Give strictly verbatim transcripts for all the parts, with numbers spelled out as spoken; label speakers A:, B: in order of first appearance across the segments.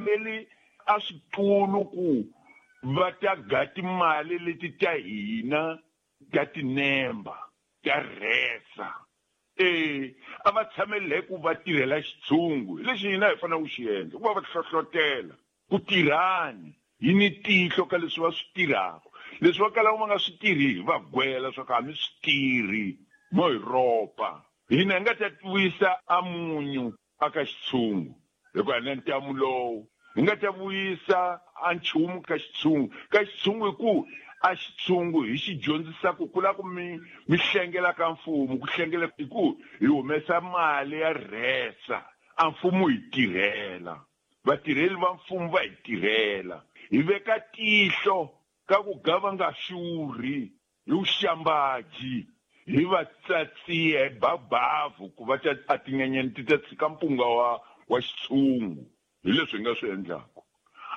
A: tshameli a switulu ku va ta ga timali leti ta hina ta tinemba ta rhesa. E a va tshameli hi ku va tirhela xitshungu, hi lexi hina hi fanele ku xi endla, ku va va hlohlotela ku tirhani hi ni tihlo ka leswi va swi tirhaka. Leswi va kalaka va nga swi tirhi hi va gwela swa ku a mi swi tirhi mo hi ropa. Hina hi nga ta vuyisa a munyu aka xitshungu hikuva hi na ntamu lowu, hi nga ta vuyisa a nchumu ka xitshungu ka xitshungu hi ku a xitshungu hi xi dyondzisa ku ku lava ku mi mi hlengela ka mfumo, ku hlengela hi ku hi humesa mali ya rhesa a mfumo hi tirhela, vatirheli va mfumo va hi tirhela, hi veka tihlo ka ku ga va nga xurhi hi vuxambaji, hi va tsatsiya hi babavu ku va ta a tinyenyani ti ta tshika mpunga wa wa xitshungu. Hi leswi hi nga swi endlaka.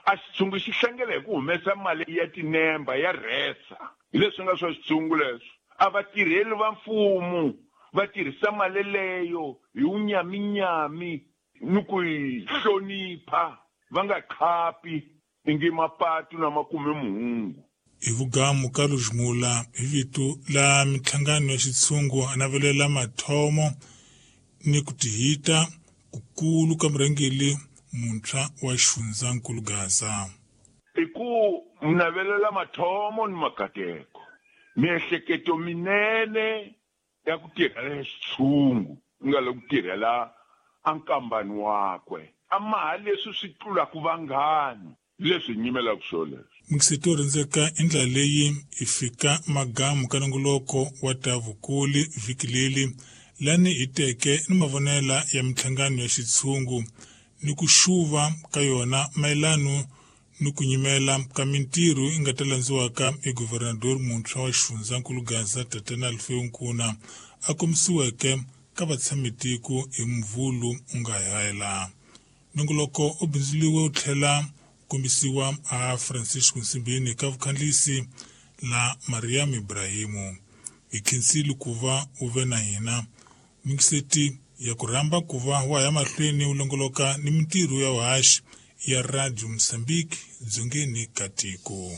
A: A xitshungu xi hlengela hi ku humesa mali ya tinemba ya rhesa, hi leswi nga swa xitshungu leswi. A vatirheli va mfumo va tirhisa mali leyo hi wunyaminyami ni ku yi hlonipha, va nga khapi ingi mapatu na makume muhungu.
B: Hi vugamu ka Lujimula hi vito la minhlangano ya xitshungu a navelela mathomo ni ku tihita kukulu ka murhangeri muntshwa wa xifundzankulu Gaza.
A: I ku navelela mathomo ni makateko, miehleketo minene ya ku tirhela xitshungu ku nga le ku tirhela a nkambani wakwe, a maha leswi swi tlulaka vanghana, leswi hi nyimelaka swona leswi.
B: Mixito yo rhendzeka i ndlela leyi hi fika magamu ka nongoloko wa ta vukuli vhiki leri lani hi teke ni mavonela ya minhlangano ya xitshungu ni ku xuva ka yona mayelano ni ku nyimela ka mintirho yi nga ta landziwaka hi guvernador muntshwa wa xifundzankulu Gaza Tatana Alfeu Nkuna a kombisiweke ka vatshamitiko hi Mvhulu u nga hela. Nongoloko u bindzuriwe wu tlhela kombisiwa a Francisco Nsimbini ka vukhandlisi la Mariam Ibrahimu. Hi khensile ku va u ve na hina. Mingiseti ya ku rhamba ku va wa ya mahlweni u longoloka ni mintirho ya vuhaxi ya Radio Mozambique dzongeni ka tiko.